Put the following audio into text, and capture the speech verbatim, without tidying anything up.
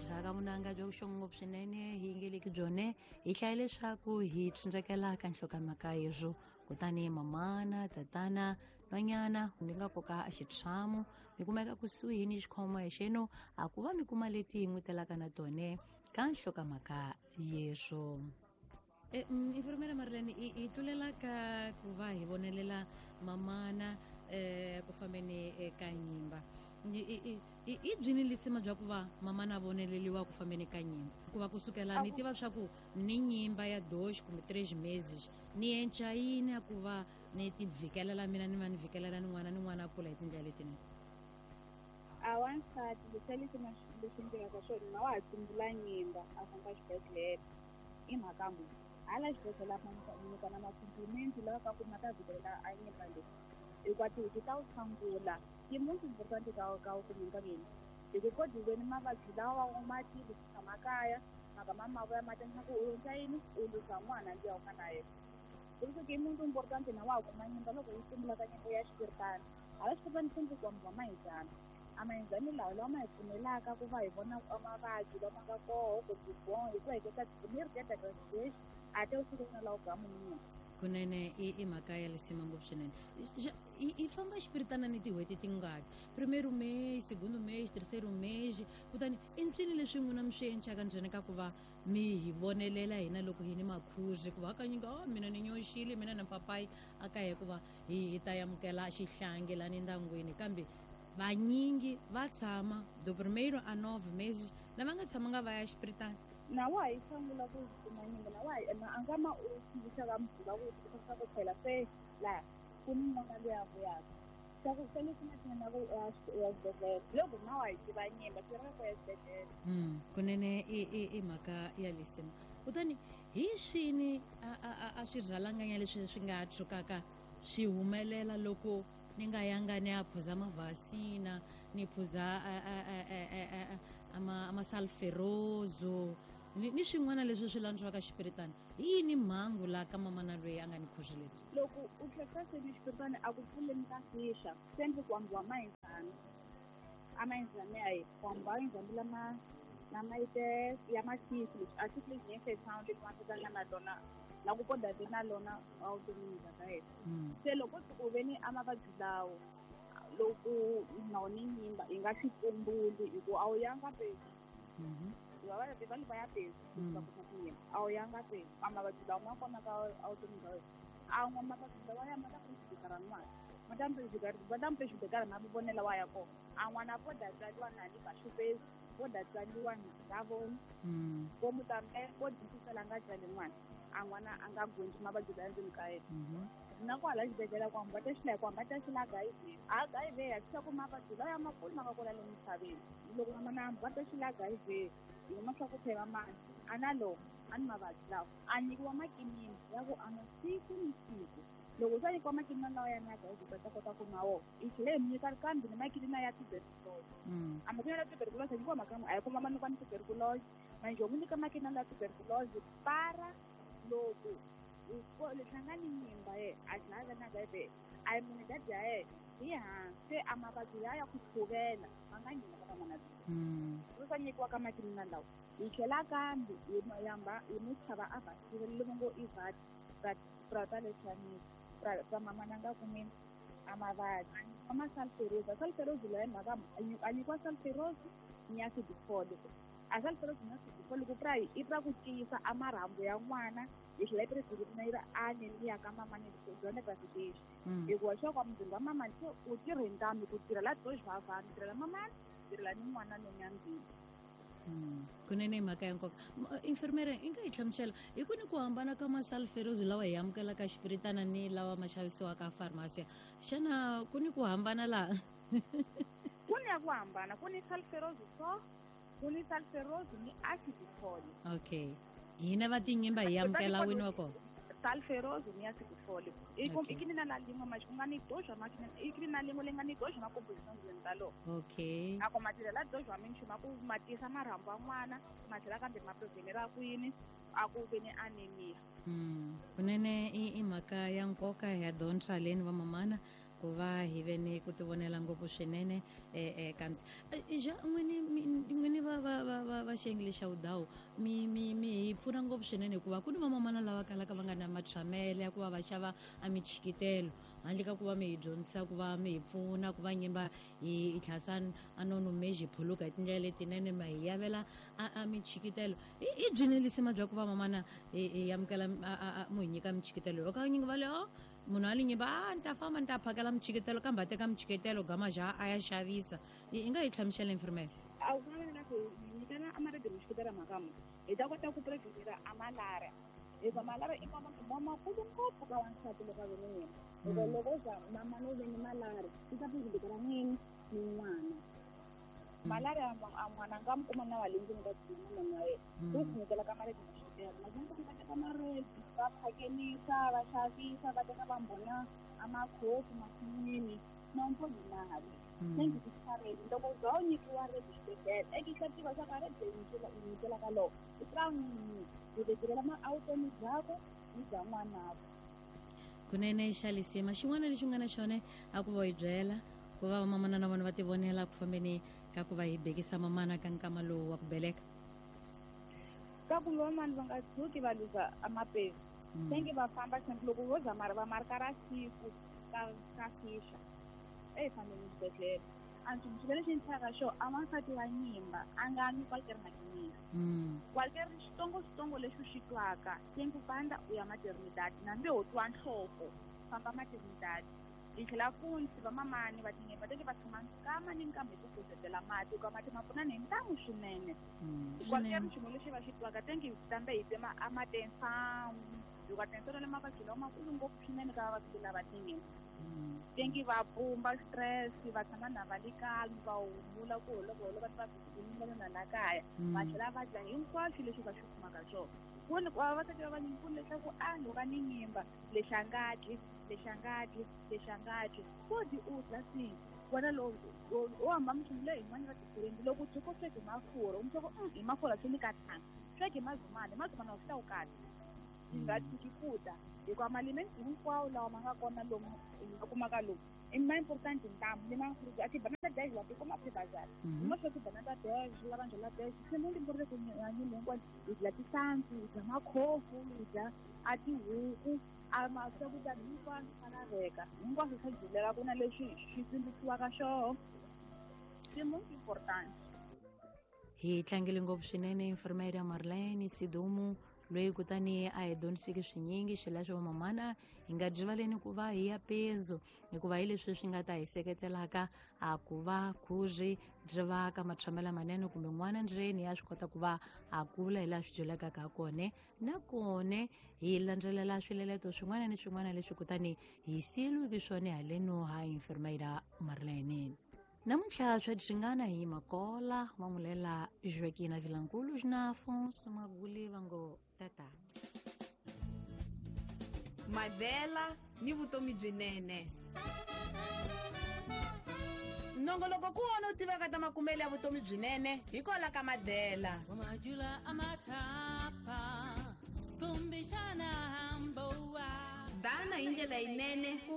Ndzhaka vunanga bya vuxongo ngopfu swinene hi yingeleki byone hi hlaya leswaku hi tshundzekela ka nhlokomhaka yezwo kutani mamana tatana nhwanyana mi nga koka a xitshamo mi kumeka kusuhi ni xikhomo xeno a ku va mi kuma leti hi n'wi telaka na tone ka nhlokomhaka yezwo. Enfermera Marilene i tlulela ka ku va hi vonelela mamana eh ku fambeni eka nyimba i byini lisima bya ku va mamana voneleliwa ku fambeni ka nyimba ku va kusukela ni tiva swa ku ni nyimba ya dois kumbe três meses ni enca yini ya ku va ni ti vhikelela mina ni va ni vhikelela ni n'wana ni n'wana a kula hi tindlela letinene. A wansati leswi leswi leswi endlekaka swona na wa ha tsumbula nyimba a famba xibedhlele i mhaka muni hala xibedhlele a nyika na macomplimenti lawa ka ku ma ta vhikelela a nyimba leyi hikuva tihuku ta wu tshangula ti most important ka ka kumeni ka yini hi ku kodiweni mavabyi lawa u ma tivi ku tshama kaya mhaka ma mavoya ma tendla ku u endla yini u luza n'wana luya u nga na yena ku i muntu important na wa ha kuma nyimba loko yi tsumbula ka nyimba ya xipiritana hala xipiritana swi ndzi ku va mahizana a mahizani lawa lawa ma hi pfumelaka ku va hi vona mavabyi lama nga koho kumbe bon hi ku heketa primeiro dia da gravidez até o segundo lawa ka munhu. Kunene i i mhaka ya lisima ngopfu swinene i famba xipiritana ni tin'hweti tingaki primeiro mês segundo mês terceiro mês kutani i ncini leswi n'wina mi swi encaka ndzeni ka ku va mi hi vonelela hina loko hi ni makhuzi ku va hakanyingi oh mina ni nyoxile mina na papayi a ka hikuva hi hi ta amukela xihlangi lani ndyangwini kambe vanyingi va tshama do primeiro a nove meses lava nga tshamanga va ya xipiritana. Na wa hi sungula ku kuma nyimba na wa hi a nga ma u tsundzuxa va muganga ku tsundzuxa ku phela se laha ku ni n'wana loyi a vuyaka swa ku se leswi nga na ku ya xibedhlele loko na wa hi tiva nyimba swi ri ku ya xibedhlele. Kunene i i i mhaka ya lisima kutani hi swini a a a swi rhalanganya leswi swi nga tshukaka swi humelela loko ni nga yanga ni ya phuza mavhasina ni phuza ama ni ni swin'wana leswi swi landziwaka xipiritana hi yini mhangu laha ka mamana loyi a nga ni khuzi lebyi. Loko u tlhela se ni xipiritana a ku pfuleni ka fixa swi endle ku ambiwa mahizana a mahizana ya yena ku ambiwa mahizana lama lama ite ya masisi leswi a swi leswi nge sound leswi ma na lona la ku poda ve na lona a vuton'wini bya ka yena se loko u ve ni a mavabyi lawo loko na wona nyimba yi nga swi tsumbuli hikuva a wu yanga pezi va va va ya pezi va kuma tinyimba a wu yanga pezi a mavabyi lawa ma kona ka a vuton'wini bya wena a n'wa mavabyi lawa ya ma ta prejudikara n'wana ma ta prejudikara va ta prejudikara mavonelo wa ya kona a n'wana poda tswariwa na ni baxupezi poda tswariwa na nga voni vo mutambe vo dyindzisela nga tswali n'wana a n'wana a nga gundzi mavabyi la ndzeni ka yena na kwala xibedhlele ku hamba ta xila ku hamba ta xila H I V H I V ya swa ku mavabyi lawa ya makulu ma nga kona le misaveni loko mamana hamba ta xila H I V hi kuma swa ku phela mani a na lo a ni mavabyi lawa a nyikiwa makinini ya ku a nwa siku ni siku loko swa nyikiwa makinini lawa ya na H I V ta kota ku nwa wona i tlhela hi nyika kambe ni makinini ya tuberculosis a makinini ya tuberculosis a nyikiwa mhaka a yi kuma ma nyikiwa ni tuberculosis manje u n'wi nyika makinini ya tuberculosis para loko hlangani nyimba ye a tlhela na H I V a yi munhu dadi ya yena hi hansi a mavabyi ya ya ku tshuvela ma nga nghena ka n'wana loyi swa nyikiwa ka makinini lawa hi tlhela kambe hi yamba hi n'wi chava a vhasile le ngo i vat prata leswanisi pra mamana nga kumini a mavabyi a ma sulfurosa sulfurosa leyi mhaka a nyikiwa sulfurosa ni ya acid folic a sulfurosa ni acid folic pra i pra ku tiyisa a marhambu ya n'wana hi tlhela yi preserve yi ri anemia ka mamani byona gravidez hikuva swa ku muzimba wa mamani se u tirhe ntambi ku tirhela dois vavani tirhela mamani tirhela ni n'wana nonyambili. Kunene mhaka ya nkoka enfermera i nga hi hlamusela hi ku ni ku hambana ka masulfurosa lawa hi amukelaka xipiritana ni lawa ma xavisiwaka farmasi xana ku ni ku hambana laha? Ku ni ya ku hambana ku ni sulfurosa so ku ni sulfurosa ni acid folic. Okay hina va tinyimba hi amukela wini wa kona sulfurosa ni acid folic i ku i na la lin'we ma ku nga ni doja ma i kini na lin'we le nga ni doja ma composition ndzeni ta lo. Okay a ku matirhela doja minchumu a ku ma tisa marhambu ya n'wana ma tlhela kambe ma prevenera ku yini a ku ve ni anemia. Kunene i i mhaka ya nkoka ya dyondza leni va mamana ku va hi ve ni ku tivonela ngopfu swinene eh kanti ja n'wini n'wini va va va va va xiyenge lexa wudawu mi mi mi hi pfuna ngopfu swinene hikuva ku ni vamamana lava kalaka va nga na matshamele ya ku va va xava a michikitelo handle ka ku va mi hi dyondzisa ku va mi hi pfuna ku va nyimba hi tlhasa a nono meji phuluka hi tindlela letinene ma hi yavela a a michikitelo i byi nelisima bya ku va mamana hi amukela mu hi nyika michikitelo loko kanyingi va le o munhu a li nyimba a ni ta famba ni ta phakela michikitelo kambe a teka michikitelo gama ja a ya xavisa i nga hi hlamusela infirmera a wu na ku nyikana a marebe michikitelo mhaka mo hi ta kota ku preventela a malaria hikuva malaria i mavabyi lamakulu ngopfu ka wansati loko a ve ni nyimba hikuva loko u za mamana u ve ni malaria swi ta preventela n'wini ni n'wana malaria a n'wana a nga mi kuma na wa le ndzeni ka byina mamana wa yena ku khomekela ka marebe michikitelo naswona va teka marebe va phakelisa va xavisa va teka va mbona a makhofu masin'wini na mali thank you for loko za u nyikiwa rebe xibedhlele eke tiva swa ka rebe nyikela u nyikela ka loko i ka n'wini u vekelela a vutomi byakwe ni bya n'wanakwe kunene xa lisima xin'wana lexi nga na xona a ku va hi byela ku va vamamana na vona va tivonela ku fambeni ka ku va hi bekisa mamana ka nkama lowu wa ku beleka ka ku vamamani va nga tshuki va luza amapesi thank you va famba loko vo za mara va marka ra siku ka ka fixa e fambeni xibedhlele a nchumu lexi ni tlhaka xo a wansati wa nyimba a nga nwi kwalkeri makinini kwalkeri xitsongoxitsongo lexi u xi twaka tenku fanda u ya maternidade nambi ho twa nhloko famba maternidade hi tlhela futhi vamamani va tinyimba teke va tshama nkama ni nkama hi ku kuzetela mati hikuva mati ma pfuna ni ntamu swinene kwalkeri nchumu lexi va xi twaka tenki tambe hi tsema a matensangu hikuva tensano le mavabyi lawa makulu ngopfu swinene ka vavabyi lava tinyimba tenki va pumba stress va tshama na va le calm va humula ku holovoholo va va bizini na la kaya va tlhela va dya hinkwaswo leswi va swi kumaka swona ku ni vavasati va vanyingi ku leswaku a loko ni nyimba lexi a nga dyi lexi a nga dyi lexi a nga dyi ko dyi u dya swihi wena lowu u hamba minchumu leyi yin'wana va tifirendi loko u tshuka u sweke hi mafurha u mutshoko hi mafurha swi ni ka tanga sweke hi mazumana hi mazumana wa swi ta wu kahle yi nga tshiki ku dya hikuva malimenti hinkwawo lawa ma nga kona lomu hi nga kumaka lomu i ma important ntamu ni ma a tibanana dash wa tikuma phibazari hi swa tibanana dash lava ndlela dash se mo limbo ri ku hanyile hinkwano hi dya tihlampfi hi dya makhofu hi dya a tihuku a ma swakudya hinkwaswo swa laveka hinkwaswo swa dyuleka ku na leswi swi tsundzuxiwaka xoho swi most important hi tlangele ngopfu swinene enfermeira Marlene Sidumo loyi kutani a hi dyondziseke swinyingi xileswo vamamana hi nga dyivaleni ku va hi ya pezu hikuva hi leswi swi nga ta hi seketelaka a ku va khuri byi va ka matshamelo manene kumbe n'wana ndzeni ya swi kota ku va a kula hi laha swi dyulekaka ha kona nakona hi landzelela swileleto swin'wana ni swin'wana leswi kutani hi siyeriweke swona haleno ha enfermeira Marlene. Namuntlha swa dyingana hi Makola va n'wi Joaquina Vilankulu na Afonso Maguli va ngo tata Madela ni vutomi byinene. Nongoloko ku wona u tiveka ta makumelo ya vutomi byinene hi kwala ka Madela. Dana hi ndlela yinene ku